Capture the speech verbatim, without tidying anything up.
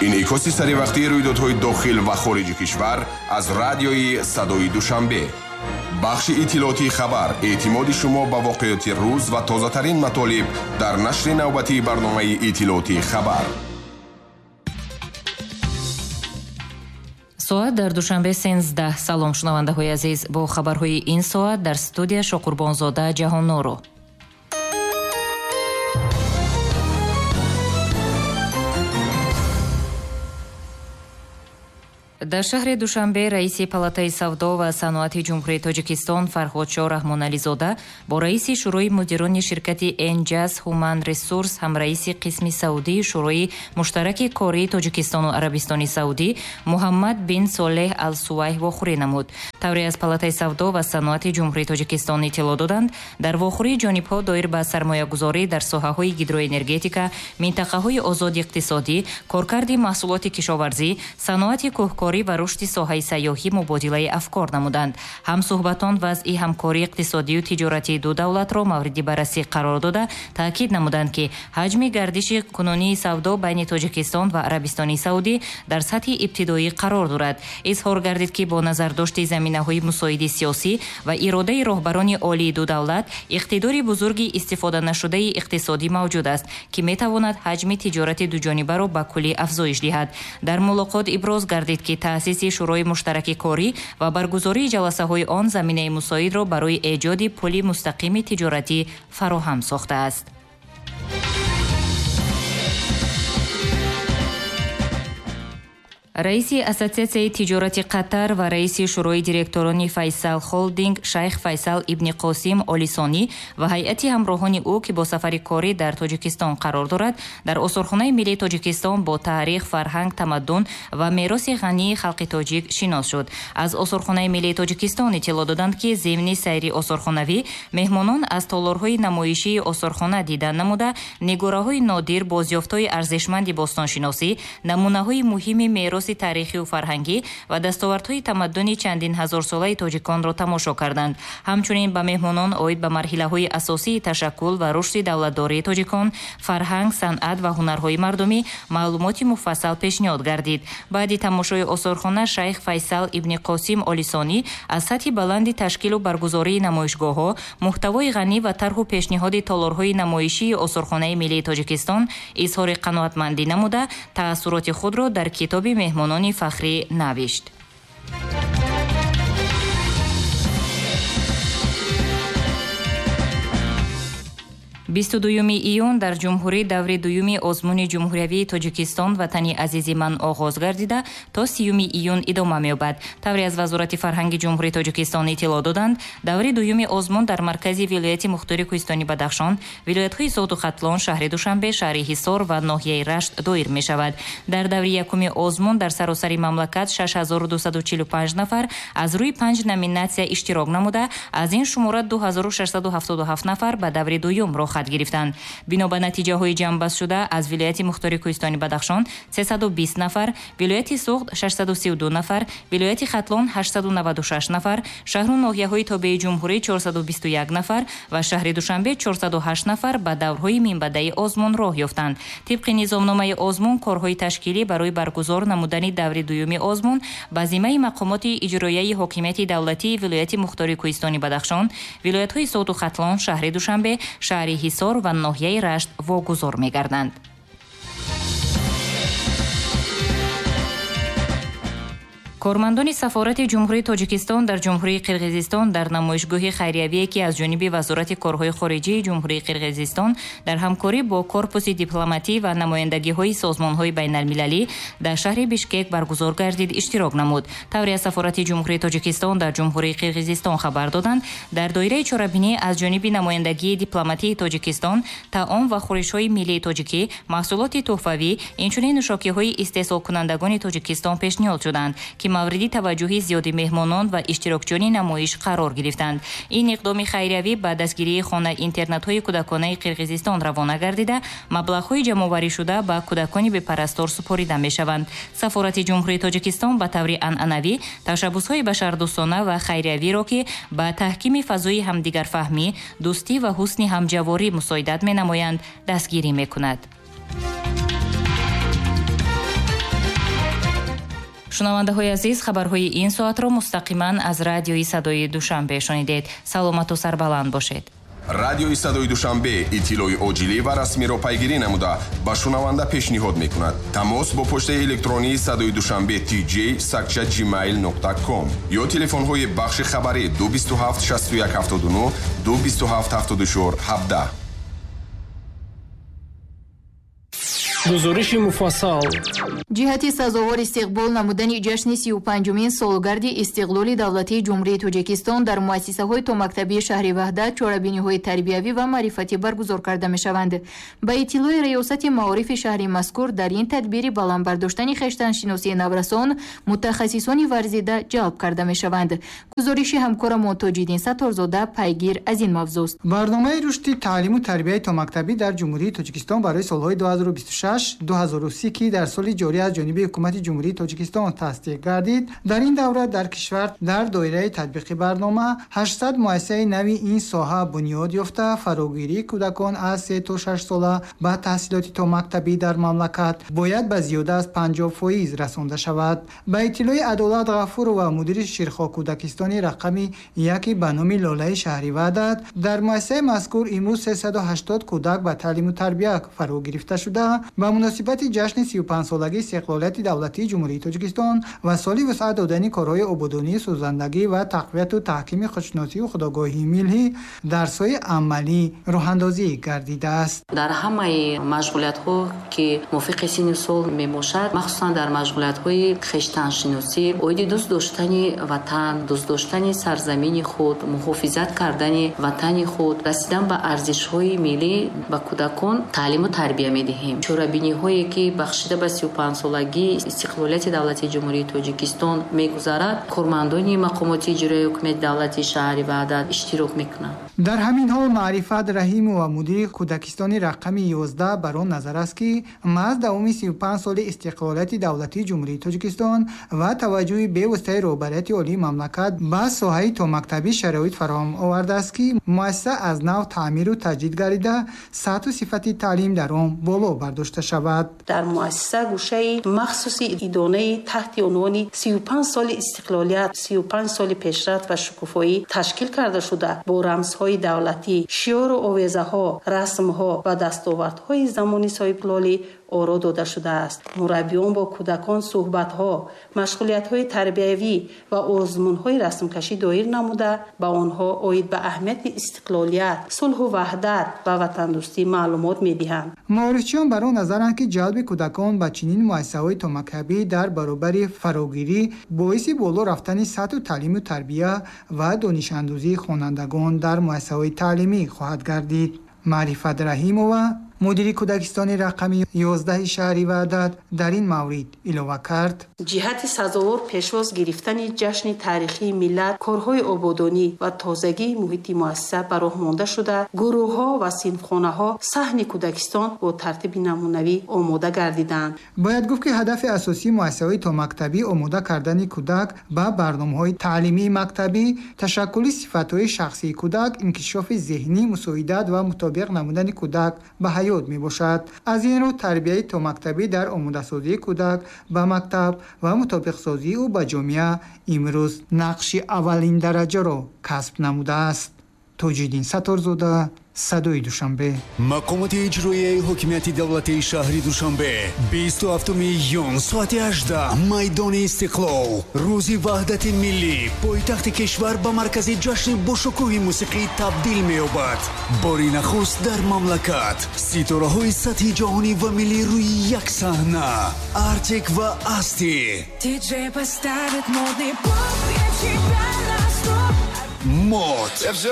Инъикоси саривақтии рӯйдодҳои дохил ва хориҷи кишвар аз радиои Садои Душанбе. Бахши иттилоотии хабар, эътимоди шумо ба воқеоти рӯз ва тозатарин матолиб дар нашри навбатии барномаи иттилоотии хабар. Соат дар Душанбе сенздаҳ. Салом, шунавандаҳои азиз. Бо хабарҳои ин соат дар студия Шоқурбонзода Ҷаҳонноро. Дар шаҳри Душанбе раиси Палатаи савдо ва саноати Ҷумҳурии Тоҷикистон Фарҳодшоҳ Раҳмонализода бо раиси Шӯрои мудирони ширкати Энҷаз Human Resource, ҳамраиси қисми саудии Шӯрои муштараки кории Тоҷикистону Арабистони Саудӣ Муҳаммад бин Солеҳ Ал-Сувайҳ вохӯрӣ намуд. Тавре аз Палатаи савдо ва саноати Ҷумҳурии Тоҷикистон иттилоъ доданд, дар вохӯрии ҷонибҳо доир ба сармоягузорӣ дар соҳаҳои гидроэнергетика, минтақаҳои озоди иқтисодӣ, коркарди маҳсулоти кишоварзӣ, саноати кӯҳкорӣ ва рушди соҳаи сайёҳӣ мубодилаи афкор намуданд. Ҳамсӯҳбатон вазъи ҳамкории иқтисодию тиҷоратии ду давлатро мавриди баррасӣ қарор дода, таъкид намуданд, ки ҳаҷми гардиши кунунии савдо байни Тоҷикистон ва Арабистони Саудӣ дар сатҳи ибтидоӣ қарор дорад. Изҳор гардид, ки бо назардошти заминаҳои мусоиди сиёсӣ ва иродаи роҳбарони олии ду давлат, иқтидори бузурги истифоданашудаи иқтисодӣ мавҷуд аст, ки метавонад ҳаҷми тиҷорати дуҷонибаро ба куллӣ афзоиш диҳад. Дар мулоқот иброз гардид, ки таъсиси Шӯрои муштараки корӣ ва баргузории ҷаласаҳои он заминаи мусоидро барои эҷоди пули мустақими тиҷоратӣ фароҳам сохтааст. Раиси Ассотсиатсияи тиҷорати Қатар ва раиси Шӯрои директорони Файсал Холдинг Шайх Файсал ибни Қосим Олисонӣ ва ҳайати ҳамроҳони ӯ, ки бо сафари корӣ дар Тоҷикистон қарор дорад, дар Осорхонаи миллии Тоҷикистон бо таърих, фарҳанг, тамаддун ва мероси ғании халқи тоҷик шинос шуд. Аз Осорхонаи миллии Тоҷикистон иттилоъ доданд, ки зимни сайри осорхонавӣ меҳмонон аз толорҳои намоишии осорхона дидан намуда, нигораҳои нодир, бозёфтҳои арзишманди бостоншиносӣ, намунаҳои муҳими мероси таърихию фарҳангӣ ва дастовардҳои тамаддуни чандин ҳазорсолаи тоҷиконро тамошо карданд. Ҳамчунин ба меҳмонон оид ба марҳилаҳои асосии ташаккул ва рушди давлатдории тоҷикон, фарҳанг, санъат ва ҳунарҳои мардумӣ маълумоти муфассал пешниҳод гардид. Баъди тамошои осорхона Шайх Файсал ибни Қосим Олисонӣ аз сатҳи баланди ташкилу баргузории намоишгоҳҳо, муҳтавои ғанӣ ва тарҳу пешниҳоди толорҳои намоишии Осорхонаи миллии Тоҷикистон изҳори қаноатмандӣ намуда, таассуроти худро дар китоби меҳмонони фахрӣ навишт. бисту дуюми июн дар ҷумҳурӣ даври дуюми озмуни ҷумҳуриявии Тоҷикистон «Ватани азизи ман» оғоз гардида, то сиюми июн идома меёбад. Тавре аз Вазорати фарҳанги Ҷумҳурии Тоҷикистон иттилоъ доданд, даври дуюми озмун дар маркази вилояти мухтори Кӯҳистони Бадахшон, вилоятҳои Суғду Хатлон, шаҳри Душанбе, шаҳри Ҳисор ва ноҳияи Рашт доир мешавад. Дар даври якуми озмун дар саросари мамлакат шаш ҳазору дусаду чилу панҷ нафар аз рӯи панҷ номинатсия иштирок намуда, аз ин шумора ду ҳазору шашсаду ҳафтоду ҳафт нафар ба даври дуюм роҳ гирифтанд. Бино ба натиҷаҳои ҷамъбастшуда аз вилояти мухтори Кӯҳистони Бадахшон сесаду бист нафар, вилояти Суғд шашсаду сию ду нафар, вилояти Хатлон ҳаштсаду наваду шаш нафар, шаҳру ноҳияҳои тобеи ҷумҳурӣ чорсаду бисту як нафар ва шаҳри Душанбе чорсаду ҳашт нафар ба даврҳои минбаъдаи озмун роҳ ёфтанд. Тибқи низомномаи озмун, корҳои ташкилӣ барои баргузор намудани даври дуюми озмун ба зиммаи мақомоти иҷроияи ҳокимияти давлатии вилояти мухтори Кӯҳистони Бадахшон, вилоятҳои Суғду Хатлон, шаҳри Душанбе, шаҳри Ҳисор ва ноҳияи Рашт вогузор мегарданд. Кормандони сафорати Ҷумҳурии Тоҷикистон дар Ҷумҳурии Қирғизистон дар намоишгоҳи хайриявие, ки аз ҷониби Вазорати корҳои хориҷии Ҷумҳурии Қирғизистон дар ҳамкорӣ бо корпуси дипломатӣ ва намояндагиҳои созмонҳои байналмилалӣ дар шаҳри Бишкек баргузор гардид, иштирок намуд. Тавре аз сафорати Ҷумҳурии Тоҷикистон дар Ҷумҳурии Қирғизистон хабар доданд, дар доираи чорабинӣ аз ҷониби намояндагии дипломатии Тоҷикистон таом ва хӯришҳои миллии тоҷикӣ, маҳсулоти тӯҳфавӣ, инчунин нӯшокиҳои истеҳсолкунандагони Тоҷикистон пешниҳод шуданд, ки мавриди таваҷҷӯҳи зиёди меҳмонон ва иштирокчиёни намоиш қарор гирифтанд. Ин иқдоми хайриявӣ ба дастгирии хона-интернатҳои кӯдаконаи Қирғизистон равона гардида, маблағҳои ҷамъоварӣшуда ба кӯдакони бепарастор супорида мешаванд. Сафорати Ҷумҳурии Тоҷикистон ба таври анъанавӣ ташаббусҳои башардӯстона ва хайриявиро, ки ба таҳкими фазои ҳамдигарфаҳмӣ, дӯстӣ ва ҳусни ҳамҷаворӣ мусоидат менамоянд, дастгирӣ мекунад. Шунавандаҳои азиз, хабарҳои ин соатро мустақиман аз радиои Садои Душанбе шунидед. Саломату сарбаланд бошед. Радиои Садои Душанбе иттилои оҷилӣ ва расмиро пайгирӣ намуда ба шунаванда пешниҳод мекунад. Тамос бо почтаи электронии Садои Душанбе tj сакча gmail нуқта com ё телефонҳои бахши хабарӣ ду бисту ҳафт шасту як ҳафтоду нӯҳ, ду бисту ҳафт ҳафтоду чор ҳабдаҳ. Гузориши муфассал. Ҷиҳати сазовор истиқбол намудани ҷашни сию панҷумин солгарди истиқлоли давлатии Ҷумҳурии Тоҷикистон дар муассисаҳои томактабии шаҳри Ваҳдат чорабиниҳои тарбиявӣ ва маърифатӣ баргузор карда мешаванд. Ба иттилои Раёсати маорифи шаҳри мазкур, дар ин тадбири баланд бардоштани хештаншиносии наврасон мутахассисони варзида ҷалб карда мешаванд. Гузориши ҳамкорамон Тоҷиддин Сатторзода пайгир аз ин мавзӯст. Барномаи рушди таълиму тарбияи томактабӣ дар Ҷумҳурии Тоҷикистон барои солҳои ду ҳазору бисту шаш ду ҳазору си, ки дар соли ҷорӣ аз ҷониби ҳукумати Ҷумҳурии Тоҷикистон тасдиқ гардид, дар ин давра дар кишвар дар доираи татбиқи барнома ҳаштсад муассисаи нави ин соҳа бунёд ёфта, фарогирии кӯдакон аз се то шаш сола ба таҳсилоти томактабӣ дар мамлакат бояд ба зиёда аз панҷоҳ фоиз расонда шавад. Ба иттилои Адолат Ғафурова, мудири Ширхо кӯдакистони рақами яки ба номи Лолаи шаҳри Ваҳдат, дар муассисаи мазкур имрӯз сесаду ҳаштод кӯдак ба таълиму тарбия фаро гирифта шуда, ба муносибати ҷашни сию панҷсолагии истиқлолияти давлатии Ҷумҳурии Тоҷикистон ва соли вусъат додани корҳои ободонии сӯзандагӣ ва тақвияту таҳкими худшиносию худогоҳии миллӣ дарсҳои амалӣ роҳандозӣ гардидааст. Дар ҳамаи машғулиятҳо, ки мувофиқи синну сол мебошад, махсусан дар машғулиятҳои хештаншиносӣ, оиди дӯст доштани ватан, дӯст доштани сарзамини худ, муҳофизат кардани ватани худ, расидан ба арзишҳои миллӣ ба кӯдакон таълиму тарбия медиҳем. Чорабиниҳое, ки бахшида ба сию панҷсолагии истиқлолияти давлатии Ҷумҳурии Тоҷикистон мегузарад, кормандони мақомоти иҷроияи ҳукумати давлатии шаҳри Ваҳдат иштирок мекунанд. Дар ҳамин ҳол Маърифат Раҳимова, мудири кӯдакистони рақами ёздаҳ, бар он назар аст, ки маҳз давоми сию панҷ соли истиқлолияти давлатии Ҷумҳурии Тоҷикистон ва таваҷҷӯҳи бевоситаи роҳбарияти олии мамлакат ба соҳаи томактабӣ шароит фароҳам овардааст, ки муассиса аз нав таъмиру таҷдид гардида, сатҳу сифати таълим дар он боло бардошта шавад. Дар муассиса гӯшаи махсуси идонаи таҳти унвони сию панҷ соли истиқлолият, сию панҷ соли пешрафт ва шукуфоӣ ташкил карда шуда, бо рамзҳои давлатӣ, шиору овезаҳо, расмҳо ва дастовардҳои замони соҳибқулолӣ оро дода шудааст. Мураббиён бо кӯдакон суҳбатҳо, машғулиятҳои тарбиявӣ ва озмунҳои расмкашӣ доир намуда, ба онҳо оид ба аҳамияти истиқлолият, сулҳу ваҳдат ва ватандӯстӣ маълумот медиҳанд. Маорифчиён бар он назаранд, ки ҷалби кӯдакон ба чунин муассисаҳои томактабӣ дар баробари фарогирӣ боиси боло рафтани сатҳу таълиму тарбия ва донишандӯзии хонандагон дар муассисаҳои таълимӣ хоҳад гардид. Маърифат Раҳимова, мудири кӯдакистони рақами ёздаҳи шаҳри Ваҳдат, дар ин маврид илова кард: ҷиҳати сазовор пешвоз гирифтани ҷашни таърихии миллат, корҳои ободонӣ ва тозагии муҳити муассиса ба роҳ монда шуда, гурӯҳҳо ва синфхонаҳо саҳни кӯдакистон бо тартиби намунавӣ омода гардиданд. Бояд гуфт, ки ҳадафи асосии муассисаҳои томактабӣ омода кардани кӯдак ба барномаҳои таълимии мактабӣ, ташаккули сифатҳои шахсии кӯдак, инкишофи зеҳнӣ, мусоидат ва мутобиқ намудани кӯдак ба ҳаёт мебошад. Аз ин рӯ тарбияи томактабӣ дар омодасозии кӯдак ба мактаб ва мутобиқсозии ӯ ба ҷомеа имрӯз нақши аввалиндараҷаро касб намудааст. Тоҷиддин Сатторзода, Садои Душанбе. Мақомоти иҷроияи ҳокимияти давлатии шаҳри Душанбе бисту ҳафтуми июн соати ҳаждаҳ майдони Истиқлол, рӯзи ваҳдати миллӣ, пойтахти кишвар ба маркази ҷашни бошукӯҳи мусиқӣ табдил меёбад. Бори нахуст дар мамлакат ситораҳои сатҳи ҷаҳонӣ ва миллӣ рӯи як саҳна. Артик ва Асти, Мод,